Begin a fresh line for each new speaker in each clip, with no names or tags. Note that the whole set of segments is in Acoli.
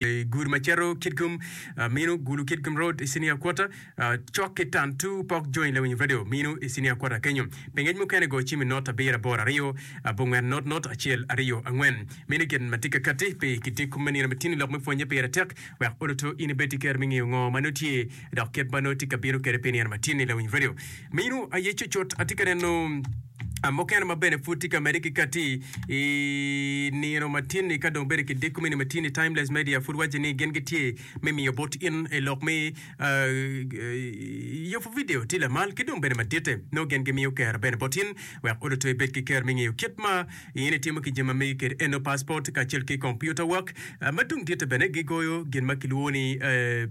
I gudo ma cito Kitgum, mino Gulu Kitgum Road i Senior Quarter, cok ki Tantu Pok Join Lawiny Radio mino i Senior Quarter kenyo. Pi ngec mukene go cim i not abiro aboro aryo abongwen not not acel aryo angwen. Mino gin ma tye ka kati pi kidiko me nino matini lok me pwonye pire tek wek oluto in ibed ki kero me ngeyo ngo ma nongo tye dok kit ma nongo tye ka bino kwede pi nino matini Lawiny Radio mino aye cucut atye ka neno Mukene ma bene pud tye ka medde ki katti i nino matin-ni ka dong bedo ki diko me nino matin-ni, Timeless Media pud waco ni gin gitye me miyo bot in i lok me yubo vidio tye lamal ki dong bene maditte. Nongo gin gimiyo kero bene bot in wek oluto ibed ki kero me ngeyo kit ma in itimo ki jami ma megi kede eno passport kacel ki computer work ma dong ditte bene gigoyo gin ma kilwongo ni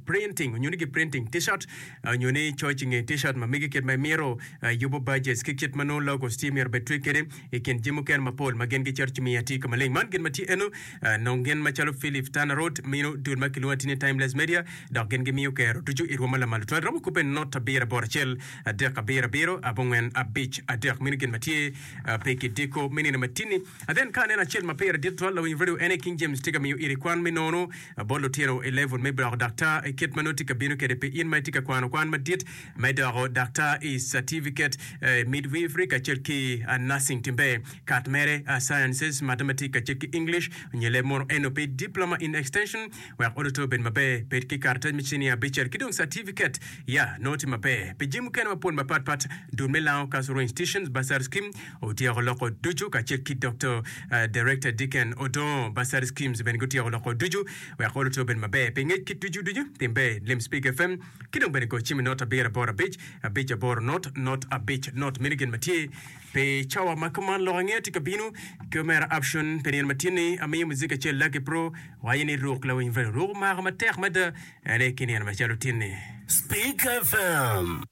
printing onyo ni gi printing t-shirt onyo ni coc i nge t-shirt ma megi kit ma imito. Yubo badges ki kit ma nongo logos tye myero obed twe kwede i kin jami mukene mapol ma gin gicito ci miyo atir ka maleng. Man gin ma tye eno, nong gin macalo Philip Tanner Road mino dul ma kilwongo atir ni Timeless Media dok gin gimiyo kero ducu i rwom ma lamal tutwal romo kubbe not abiro aboro acel adek abiro abiro abongwen abic adek mino gin ma tye pe ki diko me nino matini. Then ka aneno acel ma pire dit tutwal lawiny radio en aye King James tye ka miyo iri kwan me nono bot lutino i level me doko daktar i kit ma nongo tye ka bino kwede pi in ma itye ka kwano kwan madit Me doko daktar i catifiket midwifery kacel ki nursing timbe kat mere sciences, mathematics kacel ki English nyo leb munu eno pi diploma in extension wek oluto obed maber bed ki karatac me cinia abicel ki dong catifiket ya nongo tye maber pi jami mukene mapol mapat pat dul me Lango Cultural Institutions Bursary Scheme otyeko loko ducu kacel ki Doctor Director Dicken Odongo Bursary Schemes bene gutyeko loko ducu wek oluto obed maber pi ngec ki ducu ducu timbe Lim Speak FM Ki dong bene go cim i not abiro aboro abic, abic aboro not, not abic not. Meno gin ma tye pi cawa ma kuman. Lok angeya tye ka bino ki omera Option pi nino ma tye-ni. Amiyo muzik acel Lucky Pro waco ni ruk lawiny Fredo. Ruk omako matek mada ene ki nino macalo tin-ni.
Speak FM.